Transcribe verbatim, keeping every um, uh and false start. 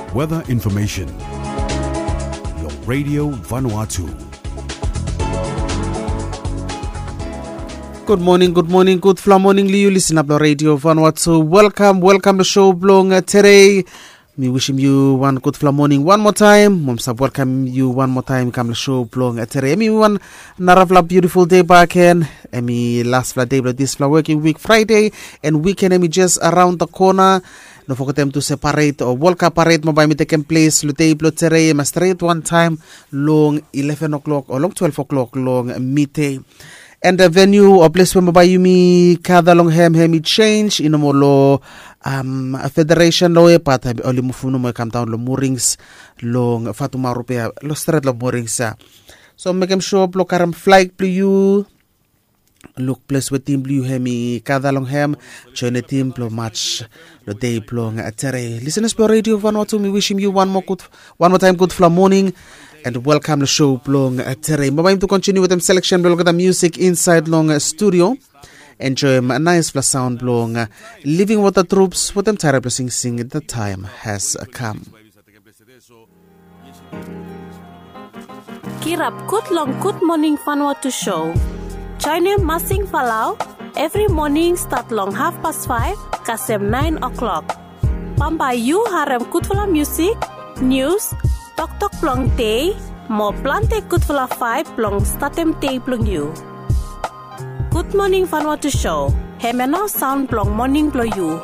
Weather information. Long Radio Vanuatu. Gud moning, gud moning, gudfala moning long yu lisin ap long Radio Vanuatu. Welkam, welkam long show blong uh, today. Mi wisim yu wan gudfala moning wan moa taem. Mo mi save welkam yu wan moa taem i kam long show blong uh, today. Em i wan narafala beautiful day back again. Em i lasfala day blong disfala working week Friday. And weekend em i just around the corner. No fogetem tu se paret o World Cup paret mo bae mi tekem ples long dei blong today em a stret wan taem long eleven o'clock o long twelve o'clock long midei. And the venue o ples we mo bae yumi gada long hem hem i change i no moa long um, federation long we bat oli muvum nomo i kam daon long Murings long Fatumaru be long stret long Murings ya. So mekem sure blong karem flag blong yu. Luk ples we tim blong yu hem i gada long hem. Join the tim blong mats long dei blong uh, today. Listeners blong Radio Vanuatu, mi wisim yu wan moa gud wan moa taem gudfala moning. And welkam long show blong uh, today. Mo bae mi tu kontiniu wetem selection blong olgeta music insaed long uh, studio. Enjoem naesfala saon blong uh, Living Water Troops wetem taerep blong singsing The Time Has Come. Kirap gud long Gud Moning Vanuatu show. Joenem Masing Falau evri moning stat long hafpas faef kasem naen o'klok. Bambae yu harem gudfala musik, nius, toktok blong dei mo plante gudfala faef blong statem dei blong yu. Gud Moning Vanuatu show, hemia nao saon blong moning blong yu.